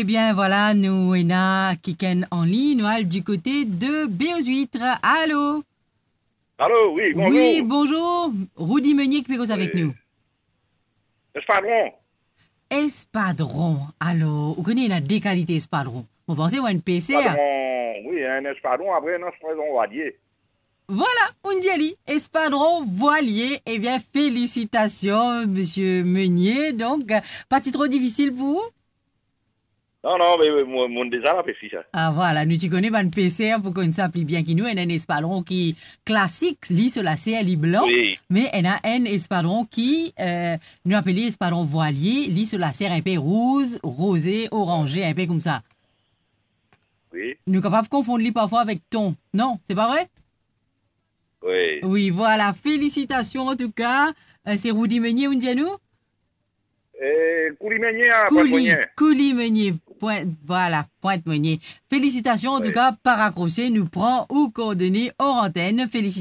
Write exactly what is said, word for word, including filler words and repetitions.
Ebien, vwala, nou ena kikenn an lign, nou al du kote de Béau aux Huîtres. Alo? Alo, wi, bonzour. Wi, bonzour. Roody Meunier ki pe koz avek nou. Espadron. Espadron. Alor, ou kone ena de kalite espadron. Mo panse ou enn peser. Espadron, wi, enn espadron, apre ena espadron vwalie. Vwala, ou'nn dir li, espadron vwalie. Ebien, felisitasion, misie Meunier. Donk, pa ti tro difisil pou ou? Non, non, me, me, mo, mo'nn deza la pesi sa. Ah, vwala, nou ti kone bann peser pou konn sa pli bien ki nou. Ena enn espadron ki klasik, li so laser, li blan. Wi. Me ena enn espadron ki, eh, nou apel li espadron vwalie, li so laser inpe rouz, roze, oranze, inpe koumsa. Wi. Nou kapav konfonn li parfwa avek ton. Non, se pa vre? Wi. Wi, vwala. Felisitasion, antouka. Eh, se Roody Meunier, ou'nn dir nou? Eh, Kouli Meunier, a, Kouli, Pointe Meunier. Kouli Meunier. Pointe, vwala, Pointe Meunier. Felisitasion, antouka, pa rakrose, nou pran ou koordone or antenn. Felisitasion.